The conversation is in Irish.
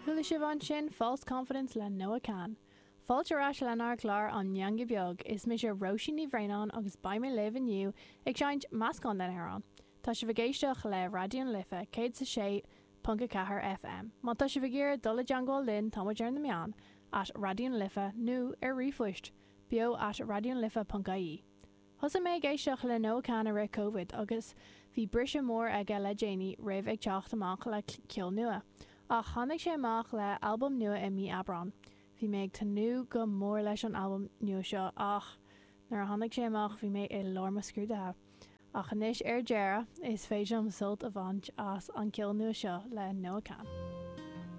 Chuala sibh ansin False Confidence le Noah Kahan. Fáilte ar ais lenár gclár An Meangadh Beag. Is mise Róisín Ní Bhraonáin agus beidh mé libh inniu ag seinnt meascán den amhrán. Tá sibh ag éisteacht le Raidió na Life 106.4 FM. Má tá sibh ag iarraidh dul i dteangmháil linn tá muid ar na meáin, at Raidió na Life nó ar ríomhphoist, beo at raidionalife.ie. Thosaigh mé ag éisteacht le Noah Kahan i rith Covid agus bhí briseadh mór aige le déanaí roimh ag teacht amach le ceol nua. Ach tháinig sé amach le albam nua i mí Aibreán. Bhí mé ag tnúth go mór leis an albam nua seo ach nuair a tháinig sé amach bhí mé i lár mo scrúduithe. Ach anois ar deireadh is féidir liom sult a bhaint as an ceol nua seo le Noah Kahan.